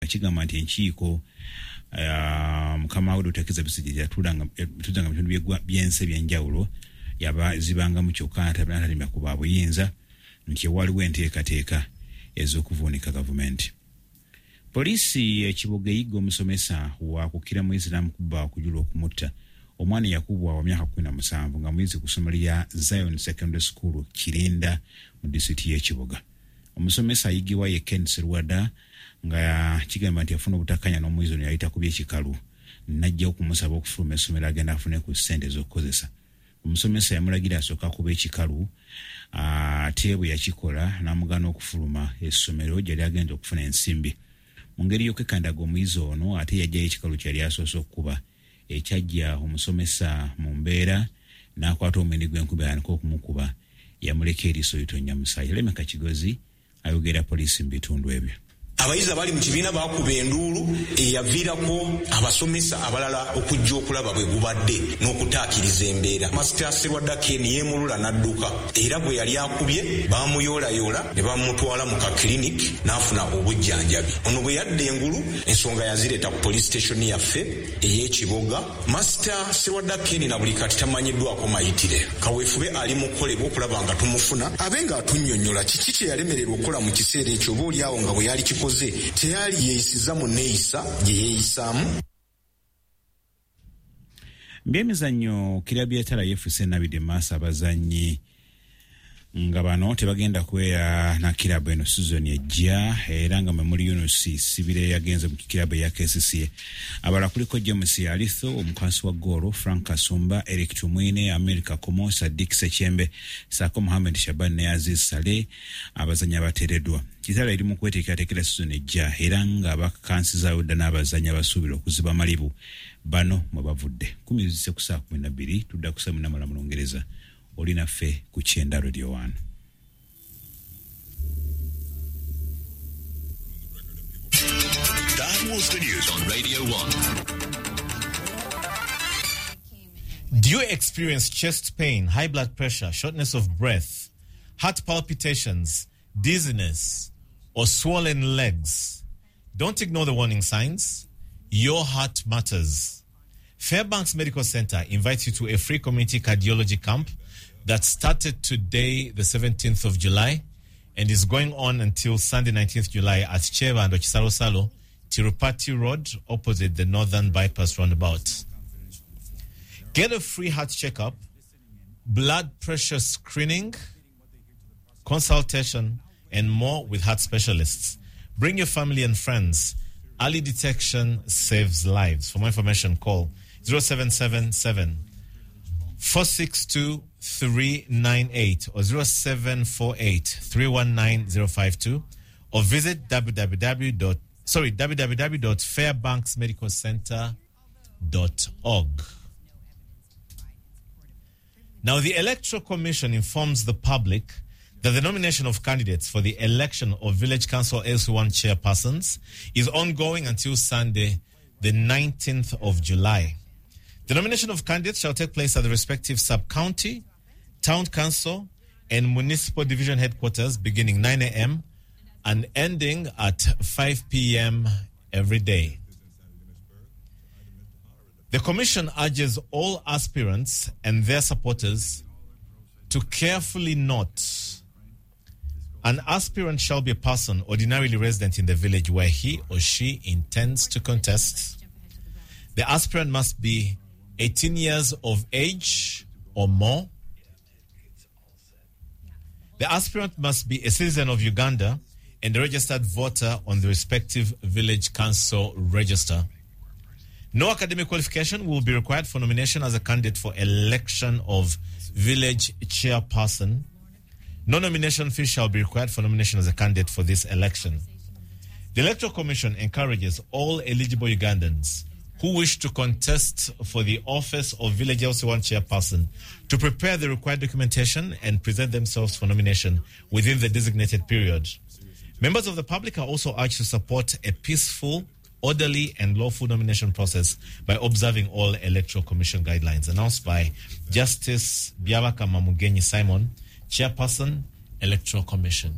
Kigamba nti enkiiko mukama we Dr. Kizza Besigye yatuulanga mu bitundu by'ensi eby'enjawulo yazibangamu kyokka n'atalimba ku baabuyinza nti waliwo enteekateeka ez'okuvuunika gavumenti. Poliisi e Kiboga eyigga omusomesa wakukira Muisiramu kubba okujula okumutta. Omwana yakubwa wa myaka 17 nga muyizi ku ssomero lya Zion Secondary School Kirinda mu disitulikiti y'e Kiboga. Omusomesa ayigibwa ye Ken Serwada nga kigamba nti yafuna obutakkaanya n'omuyizi ono yali takubye ekikalu n'ajja okumusaba okufuluma essomero agenda afune ku ssente ez'okukozesa. Omusomesa yamulagira asooke akuba ekikalu ate bwe yakikola n'amugaana okufuluma essomero gyali agenda okufuna ensimbi. Mu ngeri y'okwekandaga omuyizi ono ate yajjayo ekikalu kye yali asoose okukuba ekyajja omusomesa mu mbeera n'akwata omwindi gw'enkumbi atandika okumukuba yamuleka eriiso litonnya musaayi. Lemeka Kigozi ayogera poliisi mu bitundu ebyo. Abayizi abali mu kibiina baakuba enduulu eyaviirako abasomesa abalala okujja okulaba bwe gubadde n'okutaakiriza embeera. Masita Serwadda Ken yeemulula n'adduka era gwe yali akubye baamuyoolayoola ne bamutwala mu ka clinic n'afuna obujjanjabi. Ono bwe yadda engulu ensonga yazireeta ku police station yaffe ey'e Kiboga. Masita Serwadda Ken na buli kati tamanyiddwako mayitire. Kaweefube ali mu kukolebwa okulaba nga tumufuna abe ng'atunnyonnyola kiki kye yalemererwa okukola mu kiseera ekyo oba oli awo nga bwe yali kikoze teyali yeeyisiza mu neeyisa gye yeeyisaamu. Byemizannyo, kirabu ya Kitara yeefuuse enabidde maaso abazannyi nga bano tebagenda kubeera na kirabu eno sizoni ejja era nga mwe muli Yunus Sibire yagenze mu kirabu eya KCCA. Abalala kuliko James Alitho omukwasi wa goolo, Frank Kasumba, Eric Tumwine, Amir Kakomo, Sadik Sechembe saako Muhamed Shaban ne Aziz Saleh abazannyi abateereddwa. Kitara eri mu kweteekerateekera sizoni ejja era nga bakansizaayo dda n'abazannyi abasuubira okuziba amalibu bano mwe bavudde. 10 zise ku saa 12 tudda ku saa 8 mu Lungereza. Oli naffe ku Kyenda Radio 1. That was the news on Radio 1. Do you experience chest pain, high blood pressure, shortness of breath, heart palpitations, dizziness, or swollen legs? Don't ignore the warning signs. Your heart matters. Fairbanks Medical Center invites you to a free community cardiology camp that started today, the 17th of July, and is going on until Sunday, 19th July at Cheva and Ochisalo Tirupati Road, opposite the Northern Bypass roundabout. Get a free heart checkup, blood pressure screening, consultation, and more with heart specialists. Bring your family and friends. Early detection saves lives. For more information, call 0777 462 398 or 0748 319 052 or visit www.fairbanksmedicalcenter.org. Now, the Electoral Commission informs the public that the nomination of candidates for the election of Village Council LC1 chairpersons is ongoing until Sunday, the 19th of July. The nomination of candidates shall take place at the respective sub-county, town council, and municipal division headquarters beginning 9 a.m. and ending at 5 p.m. every day. The Commission urges all aspirants and their supporters to carefully note: an aspirant shall be a person ordinarily resident in the village where he or she intends to contest. The aspirant must be 18 years of age or more. The aspirant must be a citizen of Uganda and a registered voter on the respective village council register. No academic qualification will be required for nomination as a candidate for election of village chairperson. No nomination fee shall be required for nomination as a candidate for this election. The Electoral Commission encourages all eligible Ugandans who wish to contest for the office of Village LC1 chairperson to prepare the required documentation and present themselves for nomination within the designated period. Members of the public are also urged to support a peaceful, orderly, and lawful nomination process by observing all Electoral Commission guidelines. Announced by Justice Byabakama Mugenyi Simon, Chairperson, Electoral Commission.